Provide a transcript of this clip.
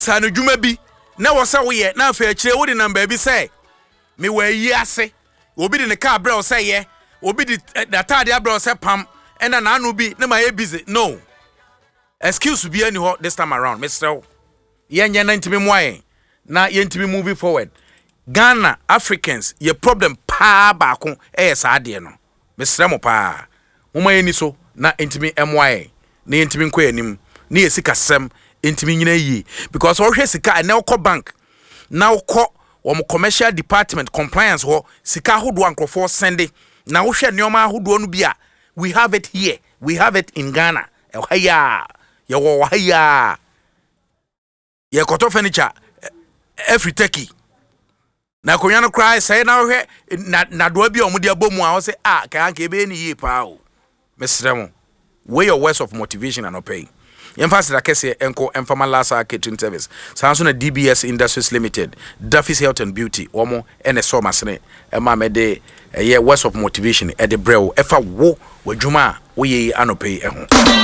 Nsaanodwuma bi na ɛwɔ sɛ woyɛ na afei akyire wode nam baabi sɛ mewɔ ayi ase, obi de ne kaa brɛ wo sɛ yɛ, obi de n'ataade abrɛ wo sɛ pam, ɛna n'ano bi na mayɛ busy. No. Excuse biara nni hɔ this time around. Mesrɛ wo. Yɛnyɛ na ntumi mmoa yɛn na yɛntumi move forward. Ghana, Africans, yɛ problem paa baako yɛ saa adeɛ no. Mesrɛ mo paa, momma yɛnni so na ɛntumi mmoa yɛn na yɛntumi nkɔ yɛn anim na yɛn sikasɛm ntumi nyina yie. Because wohwɛ sika, ɛnɛ wokɔ bank na wokɔ wɔn commercial department compliance hɔ, sika ahodoɔ a nkurɔfoɔ sɛnde na wohwɛ nneɛma ahodoɔ no bi a, we have it here, we have it in Ghana. Ɛha yi a, yɛwɔ wɔ ha yi a. Yɛkɔtɔ furniture afiri Turkey na akonnwa no koraa sɛe na wohwɛ nadoa bi a wɔde abɔ mu a wɔsɛ a kaa nka ɛbɛyɛ ne yie paa o. Mesrɛ mo, wei yɛ words of motivation anɔpa yi. Yɛmfa aseda kɛseɛ nkɔ mfama Lasa Catering Service, saa nso na DBS Industries Limited, Duffy's Health and Beauty, wɔn ɛna ɛsɔɔ m'asene ɛma mede ɛyɛ words of motivation ɛde brɛ wo ɛfa wo w'adwuma a woyɛ yi anɔpa yi ho.